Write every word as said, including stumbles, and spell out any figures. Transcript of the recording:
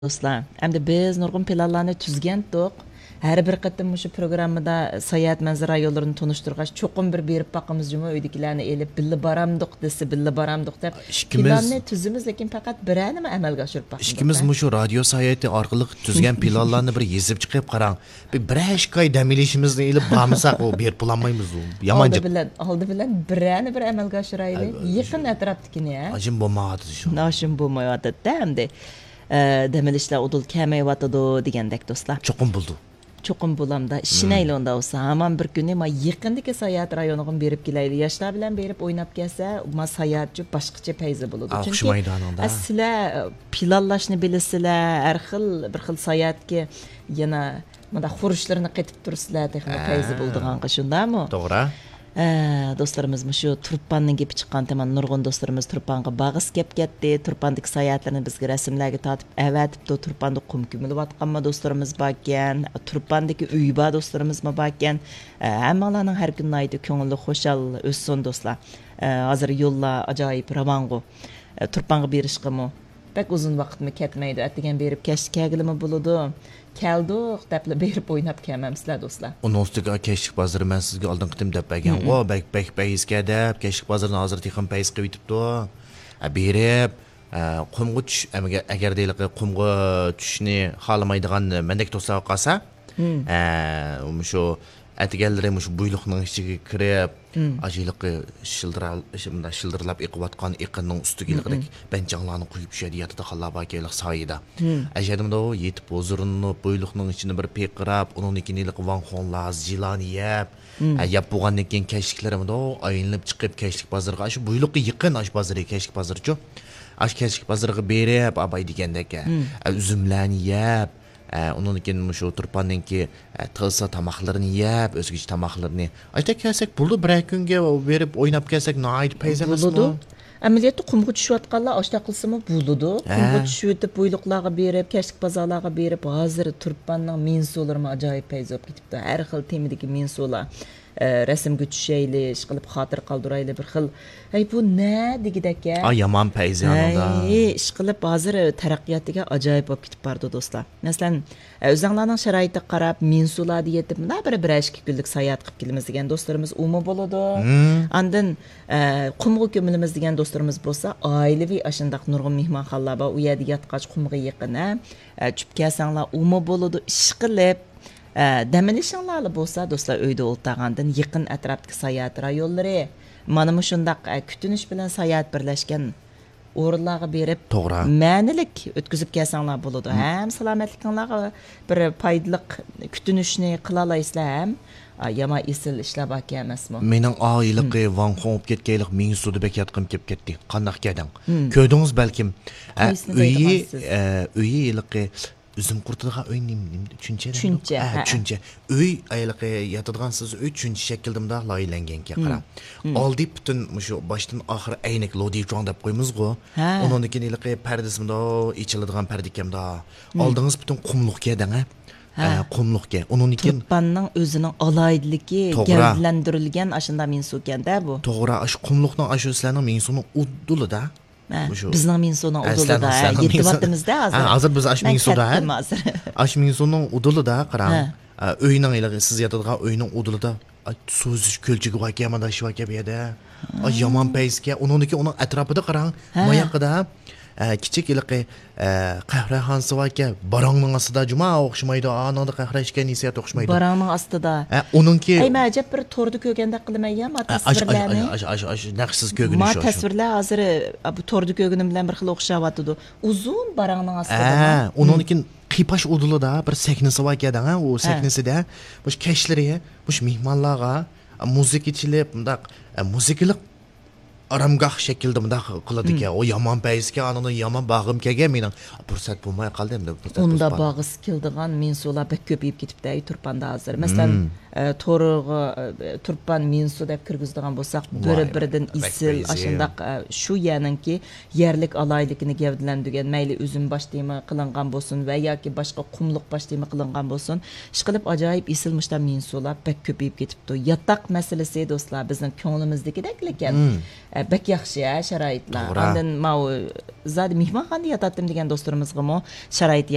دوستلار، ئەمدى بىز نۇرغۇن پىلانلارنى تۈزگەنتۇق. ھەر بىر قېتىم مۇشۇ پروگراممىدا ساياھەت مەنزىرە رايونلىرىنى تونۇشتۇرغاچ، چوقۇم بىر بېرىپ باقىمىز جۇمۇ، ئۆيدىكىلەرنى ئېلىپ، بىللە بارامدۇق دېسە، بىللە بارامدۇق دەپ ئىككىمىز پىلاننى تۈزىمىز، لېكىن پەقەت بىرەرنىمۇ ئەمەلگە ئاشۇرۇپ باقمىدۇق، ئىككىمىز ھە؟ مۇشۇ رادىيو ساياھىتى ئارقىلىق تۈزگەن پىلانلارنى بىر يېزىپ چىقىپ قاراڭ. بىر، بىرەر ئىككى ئاي دەم ئېلىشىمىزنى ئېلىپ بارمىساق، ئۇ بېرىپ بولالمايمىز، ئۇ يامان ئالدى جاپ. بىلەن، ئالدى بىلەن بىرەرنى بىر ئەمەلگە ئاشۇرايلى. ئەي، يېقىن ئەتراپتىكىنى، ھە؟ ئاشۇم بولمايۋاتىدۇ شۇ. ئاشۇم بولمايۋاتىدۇ ئەمدى. ئە، دەم ئېلىشلار ئۇدۇل كەلمەيۋاتىدۇ دېگەندەك، دوستلار. چوقۇم بولىدۇ. چوقۇم بولامدا، ئىشىنەيلى ئۇندا بولسا. ھامان بىر كۈنى ما يېقىندىكى ساياھەت رايونىغىمۇ بېرىپ كېلەيلى. ياشلار بىلەن بېرىپ ئويناپ كەلسە، ما ساياھەتچۇ باشقىچە پەيزى بولىدۇ. ئا، چۈنكى ئوخشىمايدۇ ئانىڭدا. ئە، سىلەر، ئە، پىلانلاشنى بىلىسىلەر، ھەر خىل، بىر خىل ساياھەتكە يەنە مۇنداق خۇرۇچلىرىنى قېتىپ تۇرىسىلەر، تېخىمۇ ئە، پەيزى بولىدىغانغا، شۇنداقمۇ؟ توغرا. ئە، دوستلىرىمىز مۇشۇ تۇرپاننىڭ گېپى چىققانتىما، نۇرغۇن دوستلىرىمىز تۇرپانغا بارغۇسى كەپ كەتتى. تۇرپاندىكى ساياھەتلىرىنى بىزگە رەسىملەرگە تارتىپ ئەۋەتىپتۇ. تۇرپاندا قۇم كۆمۈلۈۋاتقانمۇ دوستلىرىمىز باركەن، تۇرپاندىكى ئۆيى بار دوستلىرىمىزمۇ باركەن. ئە، ھەممىڭلارنىڭ ھەر كۈنى ناھايىتى كۆڭلى خۇشال ئۆتسۇن، دوستلار. ئە، ھازىر يوللار ئاجايىپ راۋانغۇ. ئە، تۇرپانغا بېرىشقىمۇ بەك ئۇزۇن ۋاقىتمۇ كەتمەيدۇ. ئەتىگەن بېرىپ كەچتە كەلگىلىمۇ بولىدۇ. كەلدۇق دەپلا بېرىپ ئويناپ كەلمەمسىلەر، دوستلار. ئۇنىڭ ئۈستىگە كەچلىك بازىرى مەن سىزگە ئالدىنقى قېتىم دەپ بەرگەنغۇ، بەك، بەك پەيزكەن دەپ، كەچلىك بازىرىنى ھازىر تېخىمۇ پەيز قىلىۋېتىپتۇ. ئە، بېرىپ، ئە، قۇمغا چۈش-، ئەمگە-، ئەگەردە ھېلىقى قۇمغا چۈشۈشنى خالىمايدىغان مەندەك دوستلار قالسا، ئە، مۇشۇ ئەتىگەنلىرى مۇشۇ بۇيلۇقنىڭ ئىچىگە كىرىپ، ئاشۇ ھېلىقى شىلدىرا-، شۇ-، مۇنداق شىلدىرلاپ ئېقىۋاتقان ئېقىننىڭ ئۈستىگە ھېلىقىدەك بەنجاڭلارنى قويۇپ، شۇ يەردە ياتىدىغانلار باركەن، ھېلىقى سايىدا. ئەشەدىمۇ يېتىپ ھۇزۇرلىنىپ، بۇيلۇقنىڭ ئىچىنى بىر پىرقىراپ، ئۇنىڭدىن كېيىن ھېلىقى ۋاڭخۇڭلار، زىلانى يەپ، ھە، يەپ بولغاندىن كېيىن كەچلىكلىرىمۇ ئايلىنىپ چىقىپ، كەچلىك بازىرىغا، ئاشۇ بۇيلۇققا يېقىن، ئاشۇ بازىرى، كەچلىك بازىرىچۇ. ئاشۇ كەچلىك بازىرىغا بېرىپ، ئاباي دېگەندەك، ئە، ئۈزۈملەرنى يەپ، ئە، ئۇنىڭدىن كېيىن مۇشۇ تۇرپاندىنكى، ئە، تىلسا تاماقلىرىنى يەپ، ئۆزگىچە تاماقلىرىنى. ئاشۇنداق كەلسەك بولىدۇ، بىرەر كۈنگە بېرىپ ئويناپ كەلسەك ناھايىتى پەيز ئەمەسمۇ؟ بولىدۇ. ئەمەلىيەتتە قۇمغا چۈشۈۋاتقانلار ئاشۇنداق قىلسىمۇ بولىدۇ. ھە. قۇمغا چۈشۈۋېتىپ، بۇيلۇقلارغا بېرىپ، كەچلىك بازارلارغا بېرىپ، ھازىر تۇرپاننىڭ مىنسۇلىرىمۇ ئاجايىپ پەيز بولۇپ كېتىپتۇ. ھەر خىل تېمىدىكى مىنسۇلار. ئە، رەسىمگە چۈشەيلى، ئىشقىلىپ خاتىرە قالدۇرايلى بىر خىل. ھەي، بۇ نە دېگۈدەك-ھە؟ ئا، يامان پەيزى ئانىڭدا. ھەي، ئىشقىلىپ ھازىر تەرەققىياتىگە ئاجايىپ بولۇپ كېتىپ بارىدۇ، دوستلار. مەسىلەن، ئە، ئۆزەڭلارنىڭ شارائىتىغا قاراپ، مىنسۇلاردا يېتىپ، مۇنداق بىر، بىرەر ئىككى كۈنلۈك ساياھەت قىلىپ كېلىمىز دېگەن دوستلىرىمىز ئۇمۇ بولىدۇ. ئاندىن، ئە، قۇمغا كۆمۈلىمىز دېگەن دوستلىرىمىز بولسا، ئائىلىۋى ئاشۇنداق نۇرغۇن مېھمانخانىلار بار، ئۇ يەردە ياتقاچ قۇمغا يېقىن، ھە. ئە، چۈشۈپ كەلسەڭلار ئۇمۇ بولىدۇ، ئىشقىلىپ. ئە، دەم ئېلىشىڭلارلا بولسا، دوستلار، ئۆيدە ئولتۇرغاندىن يېقىن ئەتراپتىكى ساياھەت رايونلىرى، مانا مۇشۇنداق، ئە، كۈتۈنۈش بىلەن ساياھەت بىرلەشكەن ئورۇنلارغا بېرىپ، توغرا. مەنىلىك ئۆتكۈزۈپ كەلسەڭلار بولىدۇ. ھەم سالامەتلىكىڭلارغا بىر پايدىلىق كۈتۈنۈشنى قىلالايسىلەر، ھەم، ئا، يامان ئېسىل ئىشلار باركەن ئەمەسمۇ؟ مېنىڭ ئا ھېلىقى ۋاڭخۇڭ بولۇپ كەتكەن ھېلىقى مىنسۇدا بەك ياتقۇم كېلىپ كەتتى. قانداق گەدەڭ؟ كۆردىڭىز بەلكىم. ئە، قايسىنى ئۆيى، دەيدىغانسىز؟ ئە، ئۆيى ھېلىقى ئۈزۈم قۇرۇتىدىغان ئۆي نېمە، نېمە، چۈنچە دەيدۇ؟ چۈنچە، ھە، ھە، ھە. چۈنچە. ئۆي ھېلىقى ياتىدىغان سىز ئۆي چۈنچە شەكىلدە مۇنداق لايىھەلەنگەنكەن، قاراڭ. ئالدى پۈتۈن مۇشۇ باشتىن ئاخىر ئەينەك لودىچۇاڭ دەپ قويىمىزغۇ. ھە. ئۇنىڭدىن كېيىن ھېلىقى پەردىسى مۇنداق ئېچىلىدىغان پەردە ئىكەندە. ئالدىڭىز پۈتۈن قۇملۇق گەدەڭ، ھە؟ ھە. ئە، قۇملۇق گەدەڭ. ئۇنىڭدىن كېيىن تۇرپاننىڭ ئۆزىنىڭ ئالاھىدىلىكى، توغرا. گەۋدىلەندۈرۈلگەن ئاشۇنداق مىنسۇكەن-دە بۇ. توغرا، ئاشۇ قۇملۇقنىڭ ئاشۇ سىلەرنىڭ مىنسۇنىڭ ئۇدۇلىدا. ھە، مۇشۇ بىزنىڭ مىنسۇنىڭ ئە، ئۇدۇلىدا، سىلەرنىڭ، ھە، سىلەرنىڭ مىنسۇ-، يېتىۋاتىمىز-دە ھازىر. ھە، ھازىر بىز ئاشۇ مىنسۇدا، ھە؟ ئاشۇ مىنسۇنىڭ ئۇدۇلىدا قاراڭ. ھە. ئە، ئۆينىڭ ھېلىقى سىز ياتىدىغان ئۆينىڭ ئۇدۇلىدا، ئاي، سۇ ئۈزۈش كۆلچىكى باركەن، مانا شۇ باركەن بۇ يەردە. ئاي، يامان پەيزكەن. ئۇنىڭدىن كېيىن ئۇنىڭ ئەتراپىدا قاراڭ. ھە. ماياقىدا، ئە، كىچىك ھېلىقى، ئە، قەھۋەخانىسى باركەن. باراڭنىڭ ئاستىدا جۇما ئوخشىمايدۇ. ئانىڭدا قەھۋە ئىچكەن ھېسسىيات ئوخشىمايدۇ. باراڭنىڭ ئاستىدا. ئە، ئۇنىڭكى ئەي، مەن ئەجەب بىر توردا كۆرگەندەك قىلىمەن يا، ما ئە، ئاشۇ، ئاشۇ، تەسۋىرلەرنى. ئاشۇ، ئاشۇ، ئاشۇ نەق سىز كۆرگىنى ما شۇ، شۇ. تەسۋىرلەر ھازىر، ئا، بۇ توردا كۆرگىنىم بىلەن بىر خىل ئوخشاۋاتىدۇ. ئۇزۇن باراڭنىڭ ئاستىدا. ھە، ئۇنىڭدىن كېيىن قىيپاش ئۇدۇلىدا بىر سەھنىسى باركەن، ھە، ئۇ سەھنىسىدە مۇشۇ كەچلىرى مۇشۇ مېھمانلارغا مۇزىكا چېلىپ، مۇنداق، ئە، مۇزىكىلىق ئارامگاھ شەكلىدە مۇنداق قىلىدىكەن. ئۇ يامان پەيزكەن، ئانىڭدىن يامان بارغۇم كەلگەن مېنىڭ. پۇرسەت بولماي قالدى ئەمدى، پۇرسەت ئۇندا توسۇپ قالدى. بارغۇسى كېلىدىغان مىنسۇلار بەك كۆپىيىپ كېتىپتۇ، ئەي، تۇرپاندا ھازىر. مەسىلەن، ئە، تورغا، ئە، تۇرپان مىنسۇ دەپ كىرگۈزىدىغان بولساق، بىر-، ۋاي، بىرىدىن بەك ئېسىل، پەيزى. ئاشۇنداق، ئە، شۇ يەرنىڭكى يەرلىك ئالاھىدىلىكىنى گەۋدىلەندۈرگەن، مەيلى ئۈزۈم باش تېما قىلىنغان بولسۇن ۋە ياكى باشقا قۇملۇق باش تېما قىلىنغان بولسۇن، ئىشقىلىپ ئاجايىپ ئېسىل مۇشۇنداق مىنسۇلار بەك كۆپىيىپ كېتىپتۇ. ياتاق مەسىلىسى، دوستلار، بىزنىڭ كۆڭلىمىزدىكىدەكلىكەن. بەك ياخشى ھە شارائىتلار. ئاندىن ماۋۇ زادى مېھمانخانىدا ياتاتتىم دېگەن دوستلىرىمىزغىمۇ شارائىت